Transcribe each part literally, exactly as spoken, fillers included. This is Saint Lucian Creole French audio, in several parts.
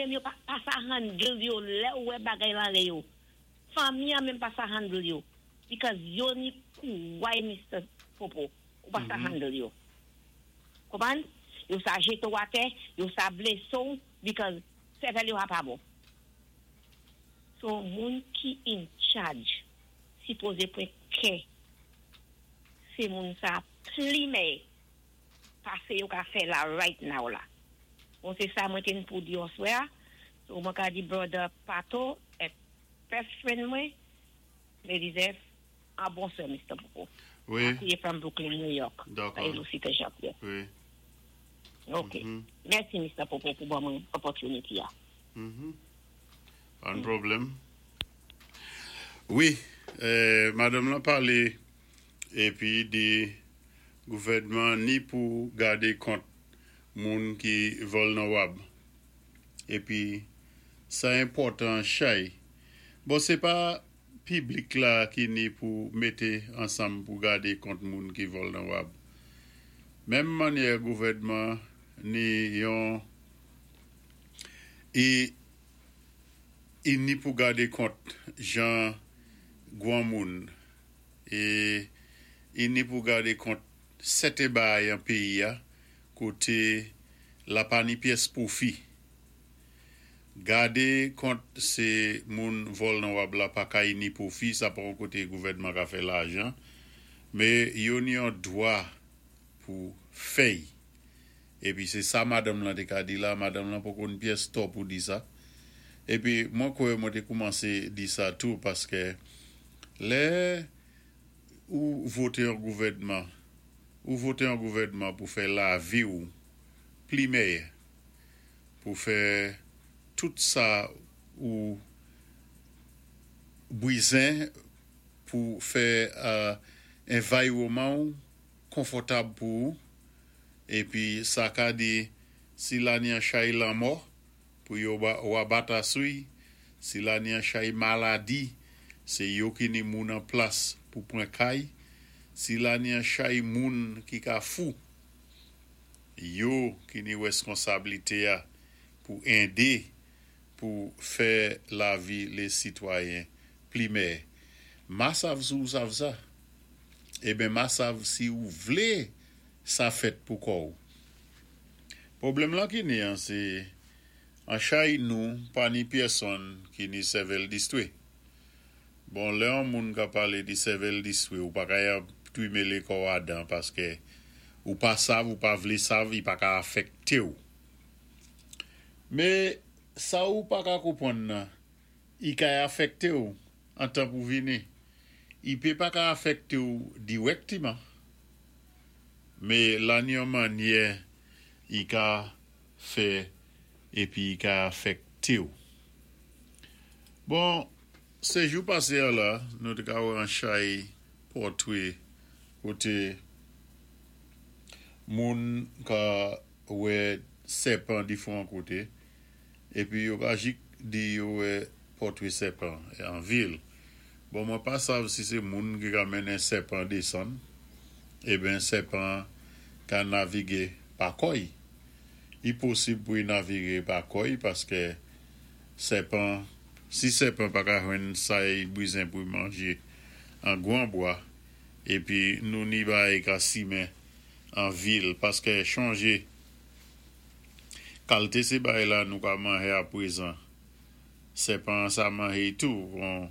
Menm yo pa, pa sa handle yo, lè ou wè bagay lan lè yo. Fanmi an menm pa sa handle yo. Because yo ni kouway, Mister Popo. Ou pa sa handle yo. Konpwann? Yo sa jété ou atè, yo sa blésé ou, because sèvèl yo a pa bon. So, moun ki in charge, sipozé pwan kè, sé moun sa pli mèyè, pasé yo ka fè la right now la. Bon, sé sa mwen té ni pou di oswè a. So, mwen ka di brother Pato, et best friend mwen, Melizef, an bonswa, Mister Popo. Wi. Akouye from Brooklyn, New York. Dakò. Sa Lucita Jean-Pierre. Wi. Ok. Mhm. Mèsi, Mister Popo, pou ban mwen opportunity a. Mhm. Pa ni pwoblèm. Wi, euh, madanm la palé épi di gouvèdman ni pou gadé kont moun ki vòl nan wab. Épi sa enpòtan chay. Bon, sé pa piblik la ki ni pou mété ansanm pou gadé kont moun ki vòl nan wab. Menm mannyè gouvèdman ni yon i i ni pou gadé kont jan gwan moun é i ni pou gadé kont sèten bay an péyi a koté la pa ni pyès pwofi. Gadé kont sé moun vòl nan wab la pa ka ni pwofi, sa pa yon koté gouvèdman ka fè lajan, mé yo ni yon dwa pou fèy. Épi sé sa madanm lan té ka di la, madanm lan poko ni pyès tò pou di sa. Épi mwen kwè mwen té koumansé di sa tou paské lè ou voté yon gouvèdman, ou voté yon gouvèdman pou fè lavi ou pli mèyè, pou fè tout sa ou bwizen pou fè uh, environman ou konfòtab pou ou, épi sa ka di si la ni an chay lanmò, pou yo ba, ou abata sou, si la ni an chay maladi, sé yo ki ni moun an plas pou pwan kay, si la ni an chay moun ki ka fou, yo ki ni responsablité a pou édé pou fè lavi lé sitwayen pli mèyè. Ma sav si ou sav sa. Eben ma sav si ou vlé sa fèt pou kò ou. Pwoblèm la ki ni an, sé an chay nou pa ni pèsonn ki ni sèvèl distwé. Bon, lè an moun ka palé di sèvèl distwé, ou pa ka ya twimélé kò adan paské ou pa sav ou pa vlé sav, i pa ka afèkté ou. Mé sa ou pa ka konpwann nan, i ka afèkté ou an tan pou vini. I pé pa ka afèkté ou dirèkteman. Mé la ni yon mannyè i ka fè épi i ka afèkté ou. Bon, sé jou pasé a la, nou té ka wè an chay pòtwé koté moun ka wè sèpan difwan koté, épi yo ka jik di yo wè pòtwé sèpan an vil. Bon, mwen pa sav si sé moun ki ka mennen sèpan désann, eben sèpan ka navigé pa kòy. I posib pou i navigé pa kòy paské sèpan, si sèpan pa ka jwenn sa i bwizen pou i manjé an gwan bwa, épi nou ni bay ka simen an vil, paské chonjé kalité sé bay la nou ka manjé a pwézan. Sèpan sa manjé tou, bon,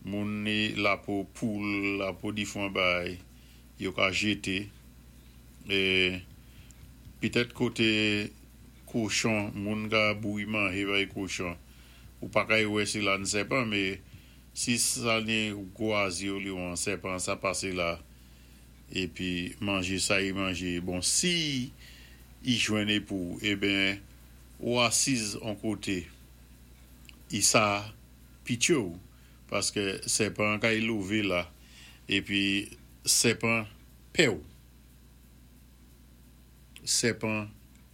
moun ni lapo poul, lapo difwan bay, yo ka jété. É pitèt koté kochon, moun ka bouyi manjé bay kochon. Ou pa ka wè si la ni sèpan, mé si sa ni gwazi li ou an sèpan, sa pasé la, épi manjé sa i manjé. Bon, si i jwenn pou, eben, ou asiz an koté, i sa pitye ou, paské sèpan ka i louvé la, épi sèpan pè ou. Sèpan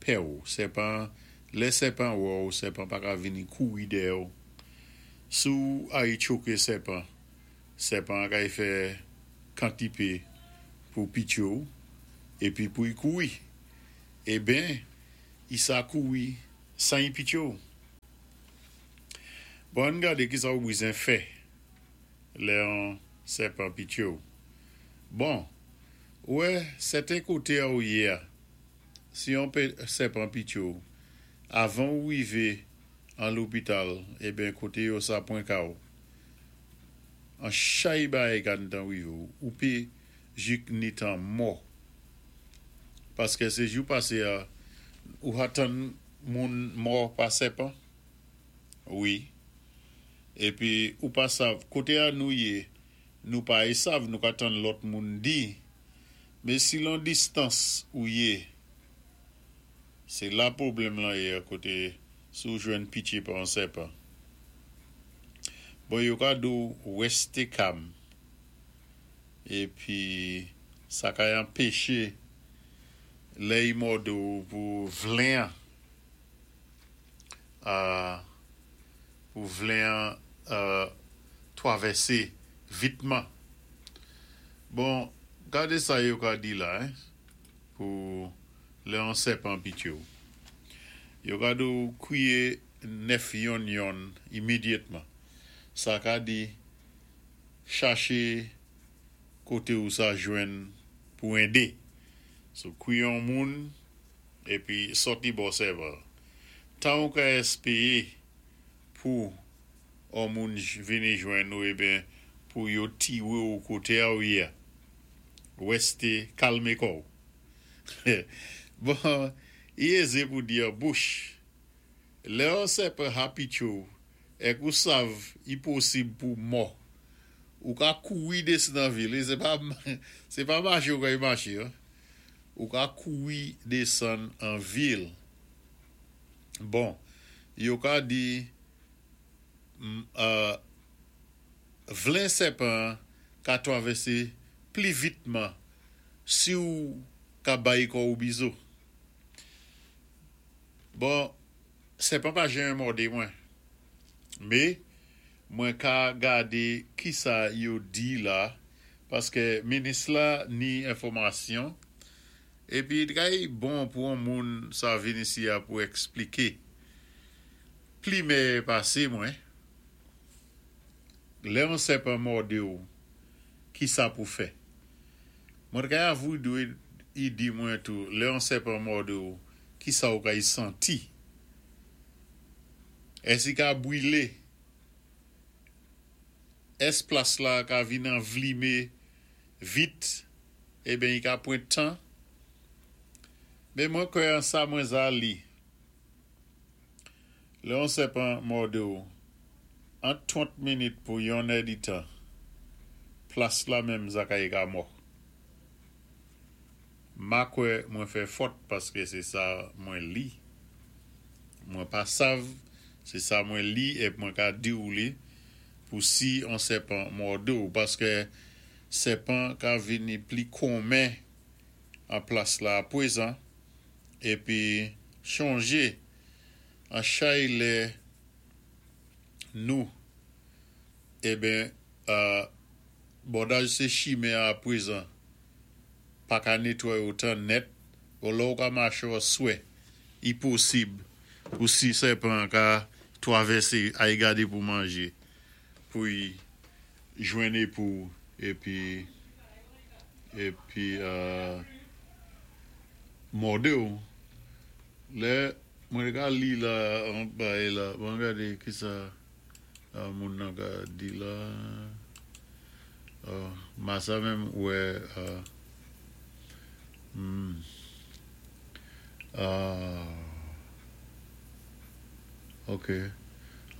pè ou. Sèpan, lè sèpan wè ou, sèpan pa ka vini kouri dèyè ou. Si ou ay tchoké sèpan, sèpan ka i fè kantipé pou pitye ou, épi pou i kouri. Eben, i sa kouri san i pitye ou. Bon, ann gadé ki sa ou bizwen fè lè an sèpan pitché ou. Bon, wè, sèten koté a ou yé a, si yon sèpan pitché ou, avan ou wivé an lopital, eben koté yo sa pwan ka ou, an chay bagay ka gntan wivé ou, ou pé jik ni tan mò. Paské sé jou pasé a, ou ka tann moun mò pa sèpan? Wi. Épi, ou pa sav, koté a nou yé, nou pa y sav, nou ka tann lòt moun di, mé si lan distans ou yé, sé la pwoblèm lan yé koté si ou jwenn pitché pa an sèpan. Bon, yo ka di ou wèsté kam, épi sa ka anpéché lè i mòdé ou pou vlen an, euh, pou vlen an euh, twavèsé vitman. Bon, gadé sa yo ka di la, hein, pou lè an sèpan pitché ou. Yo ka di ou kwiyé nèf yonn yonn imedyatman. Sa ka di chaché koté ou sa jwenn pou édé. So, kwiyé an moun, épi sòti bò sèpan. Tan ou ka èspéwé pou an moun vini jwenn ou, eben pou yo tiwé ou koté a ou yé. Wèsté kalmé kò ou. Bon, i ézé pou di an bouch. Lè an sèpan ha pitché ou, èk ou sav i posib pou mò. Ou ka kouri desann nan vil, sé pa, sé pa maché ou ka y maché, hein? Ou ka kouri desann an vil. Bon, yo ka di mm, euh, vlen sèpan ka twavèsé pli vitman si ou ka bay kò ou bizo. Bon, sèpan pa janm mòdé mwen. Mé, mwen ka gadé ki sa yo di la, paské minis la ni enfòmasyon, épi i bon pou an moun sa vin isi a pou ekspliké. Pli mé pasé mwen, lè an sèpan mòdé ou, ki sa pou fè? Mwen ka avou dwé i di mwen tou, lè an sèpan mòdé ou, ki sa ou ka y santi? Ès i ka bwilé? Ès plas la ka vin anvlimé vit, eben i ka pwan tan? Mé mwen kwè an sa mwen za li. Lè an sèpan mòdé ou, an twant minit pou yon èd tan, plas la menm za ka y ka mò. Ma kwè mwen fè fòt paské sé sa mwen li. Mwen pa sav, sé sa mwen li é mwen ka di ou li pou si an sèpan mòdé ou, paské sèpan ka vini pli komen an plas la apwézan, épi chonjé an chay lè nou, eben, euh, bòdaj sé chimen apwézan, pa ka netwayé otan nèt, ou lè ou ka maché swè, i posib pou si sèpan ka twavèsé ay gadé pou manjé, pou y jwenné pou, épi, épi, euh, mòdé ou. Lè, mwen ka li la, an bay la, mwen gadé ki sa, euh, moun nan ka di la, euh, ma sa menm wè, euh, hmm, euh, ok,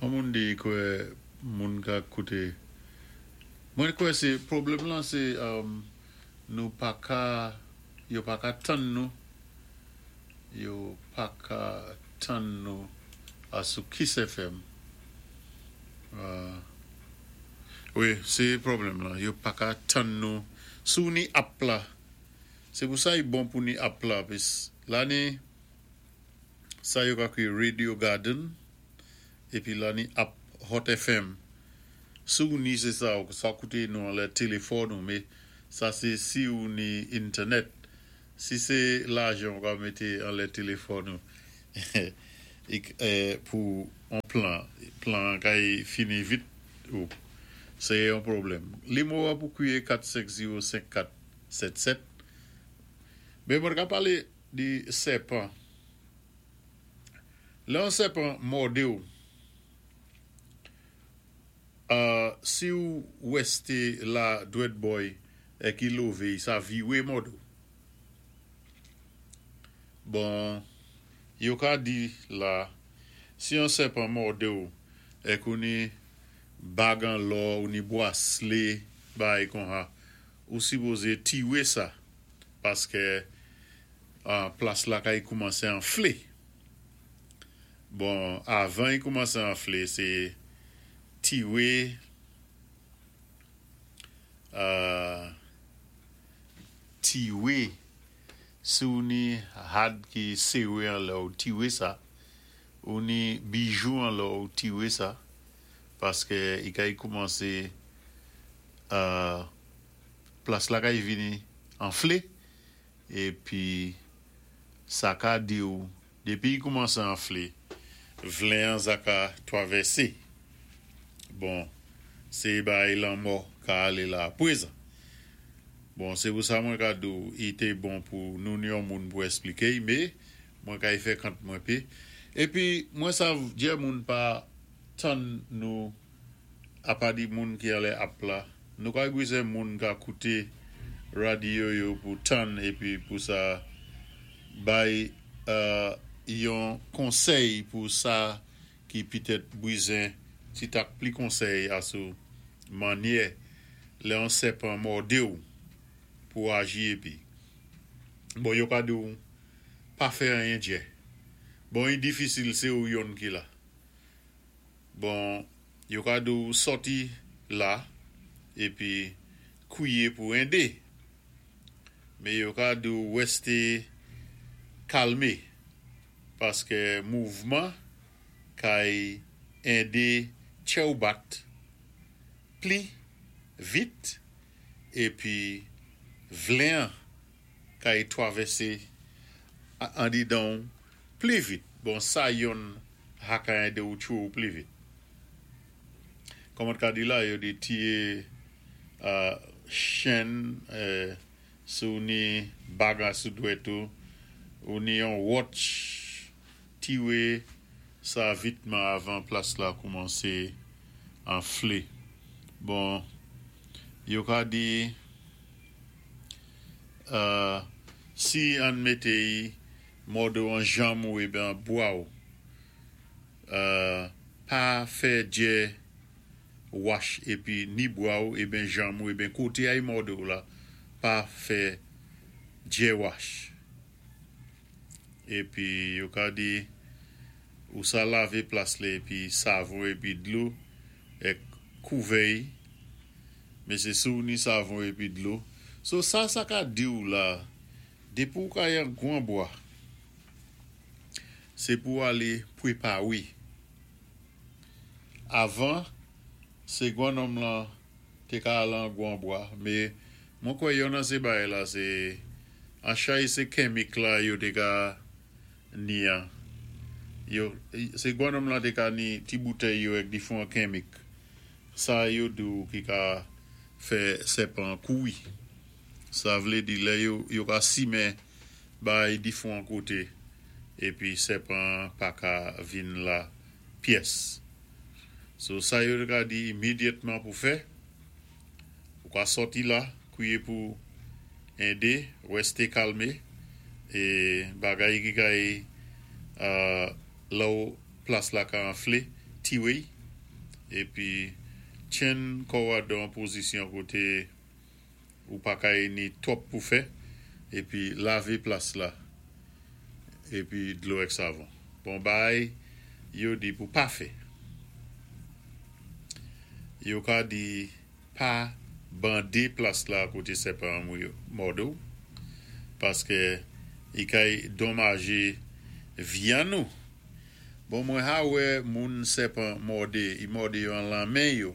an moun di kwè moun ka kouté, mwen kwè sé, pwoblèm lan sé, um, nou pa ka, yo pa ka tann nou, yo pa ka tann nou a sou Kiss F M. Euh, wi, sé pwoblèm la. Yo pa ka tann nou sou ni app la. Sé pou sa i bon pou ni app la, pis la ni sa yo ka kwiyé Radio Garden, épi la ni app Hot F M. Sou ni sé sa, sa kouté nou an lè téléfòn ou, mé sa sé si ou ni internet. Si sé lajan ou ka mété an lè téléfòn ou, ik, eh, pou an plan, Plan kay fini vit ou sé yon pwoblèm. Nimewo pou kwié kat senk zewo senk kat sèt sèt. Mé mwen ka palé di sèpan. Lè yon sèpan mòdé ou, euh, si ou wèsté la dwèt bò'y é ki lové, sa viwé mòdé ou. Bon, yo ka di la, si yon sèpan mòdé ou, é kou ni bag an lò ou ni bwaslé, bagay konsa, ou sipozé tiwé sa, paské an plas la kay koumansé anflé. Bon, avan i koumansé anflé, sé tiwé euh, tiwé si ou ni had ki séwé an lò, ou tiwé sa, ou ni bijou an lò, ou tiwé sa, paské i kay koumansé euh, plas la kay vini anflé, épi sa ka di ou, dépi i koumansé anflé, vlen an sa ka twavèsé. Bon, sé bay lanmò ka alé la pwézan. Bon, sé pou sa mwen ka di ou, i té bon pou nou ni yon moun pou éspliké, mé mwen kay fè kant mwen pé. Épi, mwen sav dyè moun pa tann nou apa di moun ki alè ap la. Nou ka gwizè moun ka kouté radyo yo pou tann épi pou sa bay euh, yon konsèy pou sa ki pitèt bwizen ti tak pli konsèy asou mannyè lè yon sèpan mòdé ou pou aji épi. Bon, yo ka di ou pa fè anyen dyè. Bon, i difisil sé ou yonn ki la. Bon, yo ka di ou sòti la épi kwié pou édé. Mé yo ka di ou wèsté kalmé paské mouvman kay édé tchè ou bat pli vit épi vlen kay twavèsé andidan pli vit. Bon, sa yonn ha ka édé ou tchwé ou pli vit. Kòman ka di la, yo di tiwé uh, chèn euh, si ou ni bag sou dwèt ou, ou ni yon watch, tiwé sa vitman avan plas la koumansé anflé. Bon, yo ka di euh, si an mété i mòdé ou an janm ou ébyen bwa ou, euh, pa fè dyè wash épi ni bwa ou ébyen janm ou ébyen koté a i mòdé ou la, pa fè dyè wash. Épi yo ka di ou sa lavé plas la épi savon épi dlo é kouvè'y, mé sé si ou ni savon épi dlo. So sa sa ka di ou la, dépi ou ka yon gwan bwa, sé pou alé pwépawé. Avan, sé gwan nonm lan té ka al an gwan bwa, mé mwen kwè yon nan sé bagay la, sé an chay sé kemik la yo té ka ni an. Yo, sé gwan nonm lan té ka ni ti boutèy yo èk difwan kemik. Sa yo di ou ki ka fè sèpan kouwi. Sa vlé di lè yo, yo ka simen bay difwan koté épi sèpan pa ka vin la pyès. So sa yo ka di imédyatman pou fè, ou ka sòti la, kwié pou édé, wèsté kalmé, é bagay ki kay euh, la ou plas la ka anflé, tiwé'y, épi tjenn kò ou dan pozisyon koté ou pa kay ni twòp pou fè, épi lavé plas la, épi dlo èk savon. Bon bay, yo di pou pa fè. Yo ka di pa bandé plas la koté sèpan mòdé ou, paské i kay donmajé vyann nou. Bon, mwen ha wè moun sèpan mòdé, i mòdé yo an lan men yo,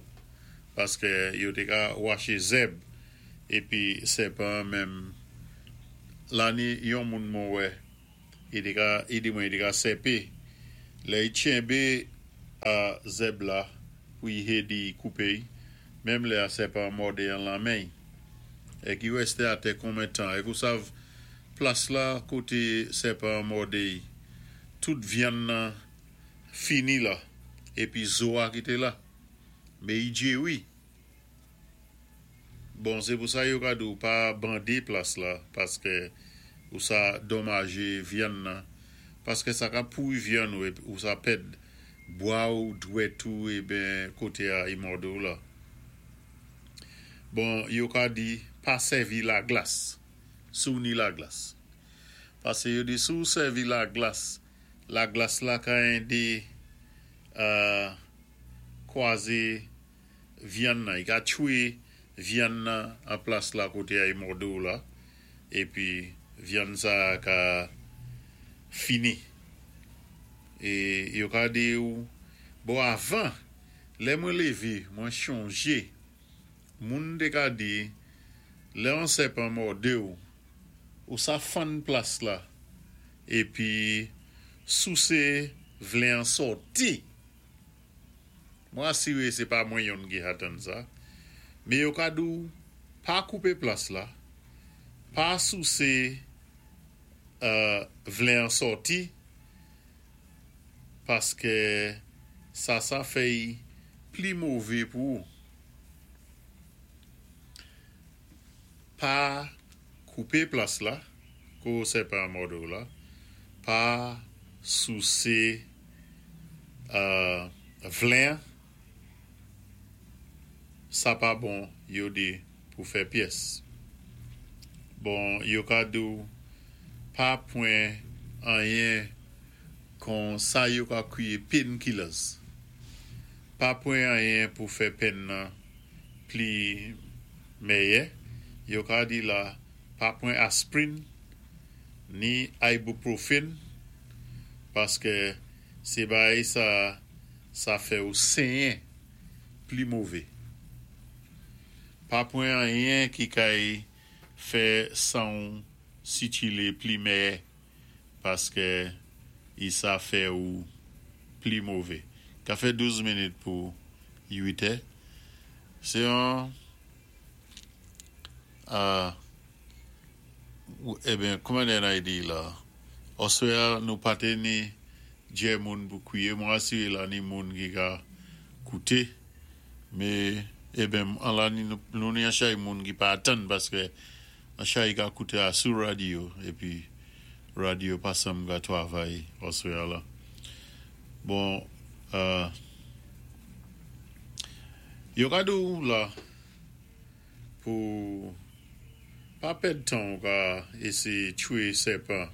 paské yo té ka waché zèb, épi sèpan menm, la ni yon moun mwen wè, i té ka, i di mwen i té ka sèpé, lè i tchenbé A zèb la pou i édé koupé, menm lè a sèpan mòdé an lan men. Èk i wèsté atè konmen tan. Èk ou sav plas la koté sèpan mòdé, tout vyann nan fini la, épi zo a kité la. Mé i djéwi. Bon, sé pou sa yo ka di pa bandé plas la, paské ou sa donmajé vyann nan, paské sa ka pouri vyann ou, ou sa pèd bwa ou dwèt ou eben koté a i mòdé ou la. Bon, yo ka di pa sèvi laglas, si ou ni laglas. Pasé yo di si ou sèvi laglas, laglas la ka édé euh, kwazé vyann nan, i ka tchwé vyann nan an plas la koté a i mòdé ou la, épi vyann sa ka fini. É yo ka di ou, bon avan, lè mwen lévé, mwen chonjé, moun té ka di, lè an sèpan mòdé ou, ou sa fann plas la, épi sousé vlen an sòti. Mwen asiré sé pa mwen youn ki atan sa, mé yo ka di ou, pa koupé plas la, pa sousé euh, vlen an sòti, paské sa sa fè pli mové pou ou. Pa koupé plas la, ko sèpan mòdé ou la, pa sousé euh, vlen, sa pa bon yo di pou fè pyès. Bon, yo ka di ou pa pwan anyen kon sa yo ka kwiyé painkillers. Pa pwan anyen pou fè pèn nan pli méyè. Yo ka di la pa pwan aspirin ni ibuprofen paské sé bagay sa sa fè ou senyen pli mové. Pa pwan anyen ki kay fè san ou sikilé pli méyè paské i sa fè ou pli mové. Ka fè douz minit pou uit è. Sé an euh, eben, kouman an di la? Oswè nou pa té ni djè moun pou kwiyé, mwen asiré la ni moun ki ka kouté, mé eben, an la ni nou, nou ni an chay moun ki pa atan paské an chay ka kouté a sou radyo, épi radyo pa sanm ka twavay oswè la. Bon, euh, yo ka di ou la pou pa pèd tan ou ka éséyé tchwé sèpan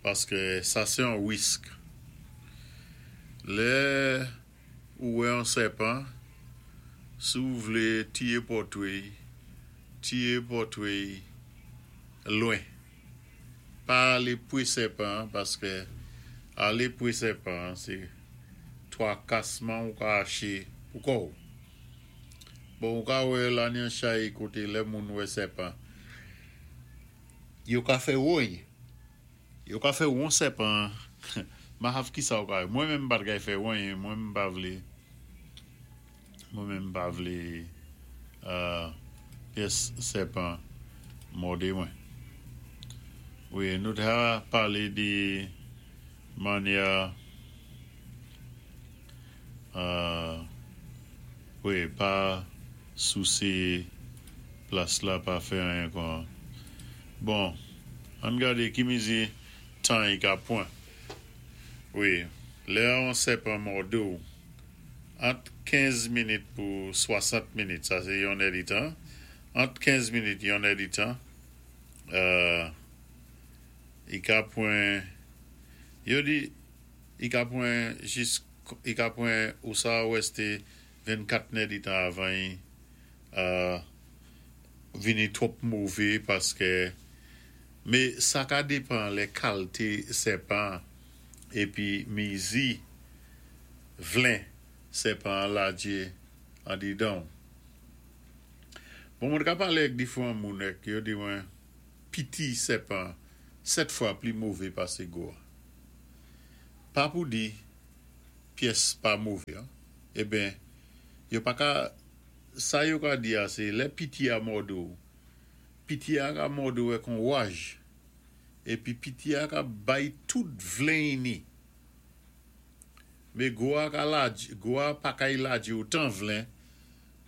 paské sa sé an risk. Lè ou wè an sèpan, si ou vlé tiyé pòtwé, tiyé pòtwé lwen. Pa alé pwé sèpan paské alé pwé sèpan sé twakasman ou ka aché pou kò ou. Bon, ou ka wè la ni an chay koté lè moun wè sèpan. Yo ka fè woy. Yo ka fè won sèpan. Ma hav ki sa ou ka. Mwen menm pa kay fè woy, mwen menm pa vlé. Mwen menm pa vlé euh, pyès sèpan mòdé mwen. Wi, nou ta palé di mannyè euh, wi, pa sousé plas la, pa fè anyen kon. Bon, ann gadé ki mizi tan i ka pwan. Wi, lè an sèpan mòdé ou, ant kenz minit pou swasant minit, sa sé yon èd tan, ant kenz minit yon èd tan, euh, i ka pwan, yo di, i ka pwan jis, i ka pwan ou sa wèsté vennkat èd tan avan i, euh, vini twòp mové paské mé sa ka dépan lè kalité sèpan épi mizi vlen sèpan ladjé andidan. Bon, mwen ka palé ak diféwan moun èk yo di mwen piti sèpan sèt fwa pli mové pasé gwo. Pa pou di Pyès pa mové. Eben, yo pa ka, sa yo ka di a sé, lè piti a mòdé ou, piti a ka mòdé ou èk on waj, épi piti a ka bay tout vlen i ni. Mé gwo a ka laj, gwo a pa ka lajé otan vlen,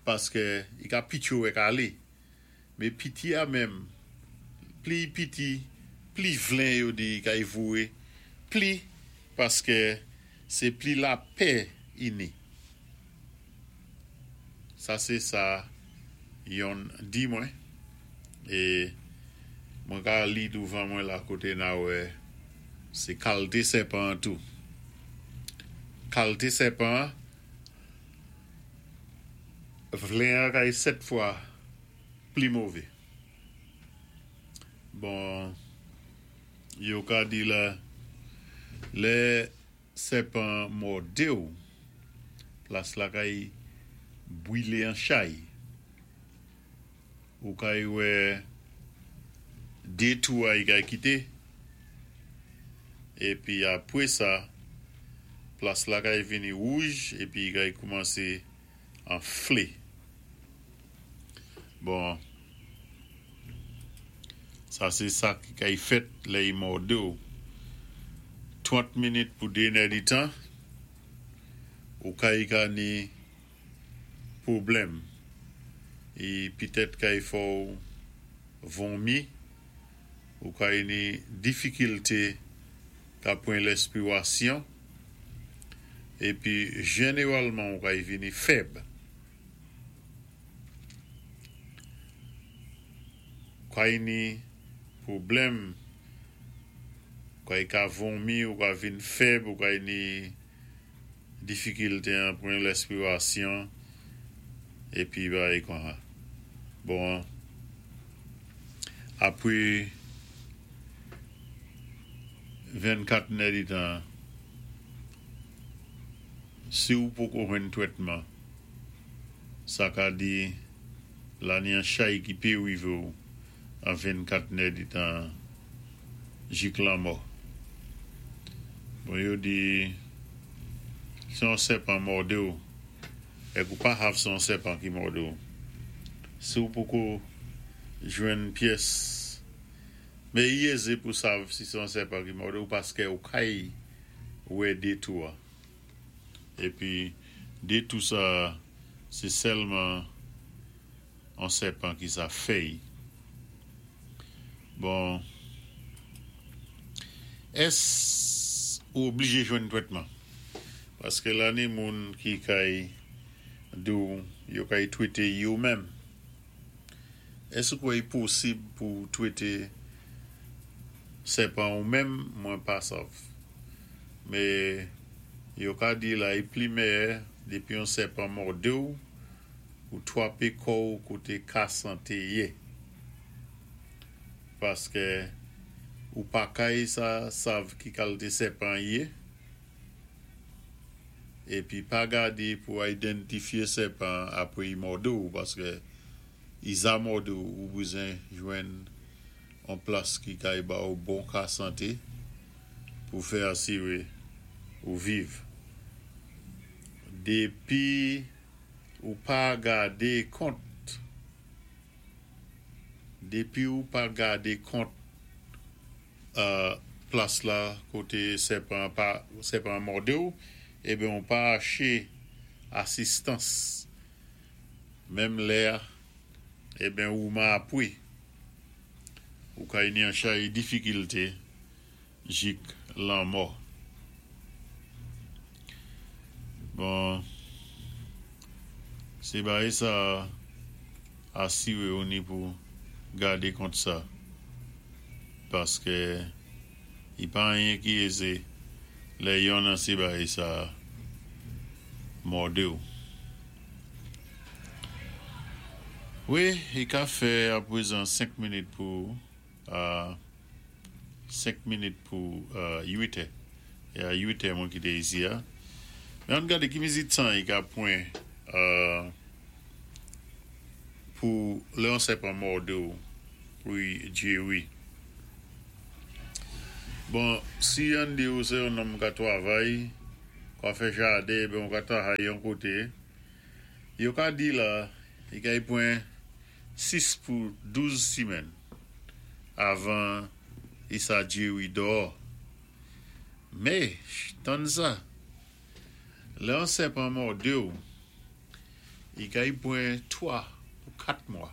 paské i ka pitché ou èk alé. Mé piti a menm, pli piti, pli vlen yo di i ka voyé, pli, paské sé pli lapè i ni. Sa sé sa youn di mwen, é mwen ka li douvan mwen la koté na wè, sé kalité sèpan tou. Kalité sèpan, vlen an kay sèt fwa pli mové. Bon, yo ka di la, lè sèpan mòdé ou, plas la kay bwilé an chay. Ou kay wè dé tou a i kay kité. Épi apwé sa, plas la kay vini wouj, épi i kay koumansé anflé. Bon, sa sé sa ki kay fèt lè i mòdé ou. Twant minit pou dé nèditan, ou kay ka ni pwoblèm. I pitèt kay fè ou vonmi, ou kay ni difikilté ka pwan lèspiwasyon, épi jénéwalman ou kay vini fèb. Kay ni pwoblèm, kay ka vonmi, ou ka vin fèb, ou kay ni difikilté an pwan lèspiwasyon, épi bagay kon. Bon, apwé vennkat nèditan, si ou poko jwenn twètman, sa ka di la ni an chay ki pé rivé ou an vennkat nèditan jik lanmò. Bon, yo di, si on sèpan mòdé ou, èk ou pa sav sé on sèpan ki mòdé ou, si ou poko jwenn pyès, mé i ézé pou sav si sé on sèpan ki mòdé ou paské ou kay wè dé tou a. Épi, dé tou sa, sé sèlman on sèpan ki sa fè. Bon, ès ou oblijé jwenn twètman? Paské la ni moun ki kay di ou yo kay twété yo menm. Ès ou kwè i posib pou twété sèpan ou menm, mwen pa sav. Mé yo ka di la i pli mèyè dépi on sèpan mòdé ou, ou twapé kò ou koté ka santé yé. Paské ou pa kay sa sav ki kalité sèpan yé, épi pa gadé pou idantifyé sèpan apwé i mòdé ou, paské i za mòdé ou, ou bezwen jwenn on plas ki kay ba ou bon ka santé pou fè asiré ou viv. Dépi ou pa gadé kont, dépi ou pa gadé kont euh, plas la koté sèpan pa sèpan mòdé ou, eben ou pa aché asistans menm lè a, eben ou ma apwé. Ou kay ni an chay difikilté jik lanmò. Bon, sé bagay sa asiré ou ni pou gadé kont sa. Paské i pa anyen ki ézé lè youn nan sé bagay sa mòdé ou. Wi, i ka fè apwézan senk minit pou euh, senk minit pou euh, uit è. É a uit è mwen kité isi a. Mé ann gadé ki mezi tan i ka pwan euh, pou lè on sèpan mòdé ou pou i jéri. Bon, si ann di ou sé on nonm ka twavay, Ka fè jaden, ben ou ka travay yon koté. Yo ka di la, i kay pwan sis pou douz simèn avan i sa jéwi dò. Mé, tann sa. Lè an sèpan mòdé ou, i kay pwan twa pou kat mwa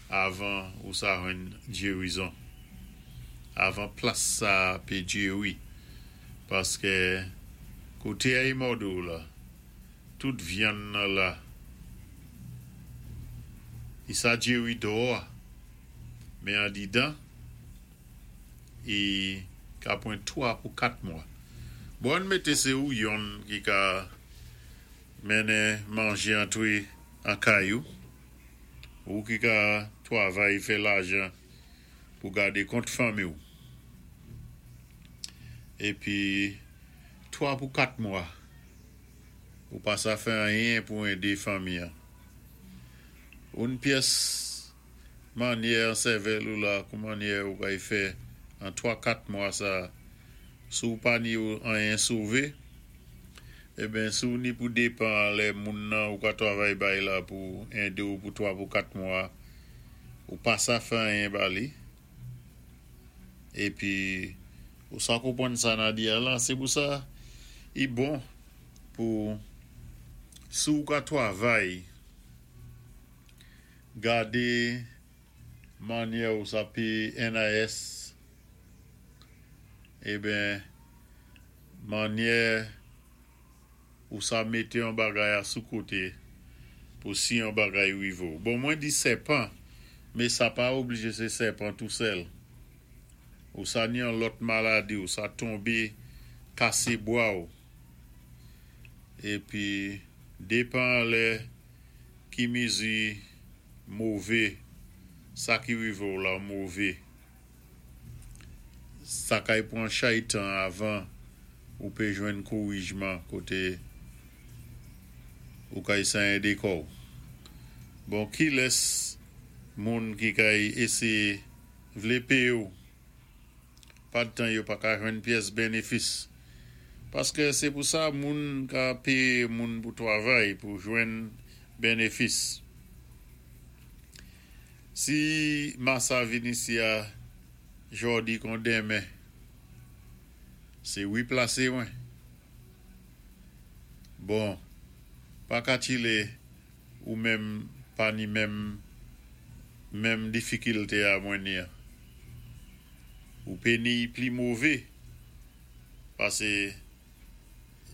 avan ou sa jwenn jéwizon. Avan plas sa pé jéwi. Paské koté a i mòdé ou la, tout vyann nan la, i sa jéwi dò, mé andidan, i ka pwan twa pou kat mwa. Bon, ann mété sé ou yonn ki ka mennen manjé antwé an kay ou, ou ki ka twavay fè lajan pou gadé kont fanmi ou. Épi, twa pou kat mwa, ou pa sa fè anyen pou édé fanmi an. Oun pyès mannyè an sèvèl ou la, kou mannyè ou kay fè an twa kat mwa sa, sou pa ni ou anyen sové, eben sou ni pou dépan lè moun nan ou ka twavay bay la pou édé ou pou twa pou kat mwa, ou pa sa fè anyen ba li. Épi, ou sa konpwann sa na di a la, sé pou sa, i bon pou sou ka twavay gadé mannyè ou sa péyé N I S, eben mannyè ou sa mété yon bagay a sou koté pou si yon bagay wivé ou. Bon, mwen di sèpan, mé sa pa oblijé sé sèpan tou sèl. Ou sa ni yon lòt maladi, ou sa tonbé kasé bwa ou. Épi, dépan lè ki mizi mové, sa ki wivé ou la mové. Sa kay pwan chay tan avan ou pé jwenn kowijman koté ou kay sa édé kò ou. Bon, ki lès moun ki kay éséyé vlé péyé ou, pa tan yo pa ka jwenn pyès bénéfis. Paské sé pou sa moun ka péyé moun pou twavay, pou jwenn bénéfis. Si masa vin isi a jòdi kon denmen, sé wi plasé mwen. Bon, pa ka chilé ou menm pa ni menm menm difikilté a mwen ni a. Ou pé ni pli mové, pasé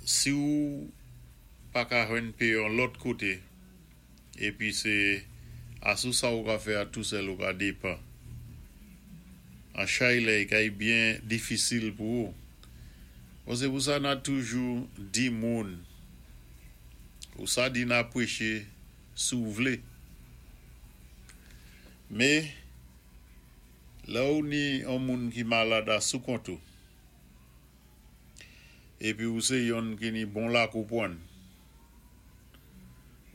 si ou pa ka jwenn péyé yon lòt koté, épi sé asou sa ou ka fè a tou sèl ou ka dépan. An chay lè, i kay byen difisil pou ou. Bon, sé pou sa na toujou di moun, ou sa di na pwéché sou vlé. Mé, la ou ni an moun ki malad a sou kont ou, épi ou sé yonn ki ni bon la konpwann,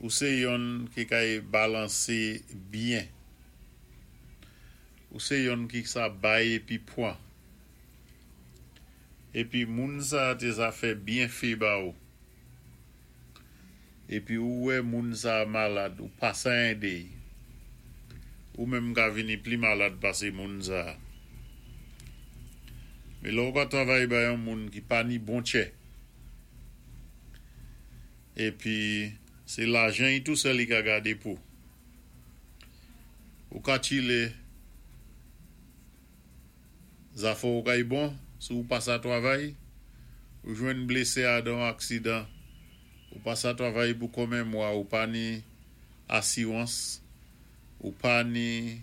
ou sé yonn ki kay balansé byen, ou sé yonn ki sa bay épi pwan, épi moun sa té sa fè byenfé ba ou, épi ou wè moun sa malad, ou pa sa édé, ou menm ka vini pli malad pasé moun sa. Mé lè ou ka twavay bay yon moun ki pa ni bon tchè, épi sé lajan i tou sèl i ka gadé pou. Ou ka chilé, zafè ou kay bon, sou ou pa sa twavay, ou jwenn blésé a dan aksidan, ou pa sa twavay pou konmen mwa, ou pa ni asiwans, ou pa ni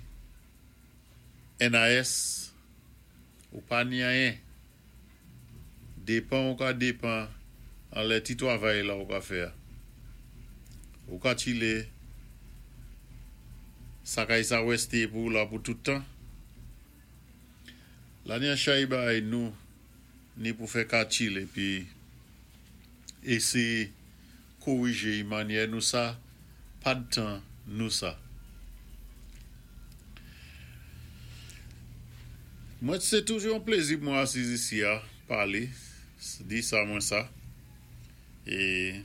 N I S, ou pa ni anyen. Dépan ou ka dépan an lè ti twavay la ou ka fè. Ou ka chilé, sa kay sa wésté pou la pou tout tan. La ni an chay bay nou, ni pou fè ka chilé, épi éséyé kowijé mannyè nou sa, pa tan nou sa. Mwen sé toujou yon plézi pou mwen asiz isi a, palé, di sa mwen sa. É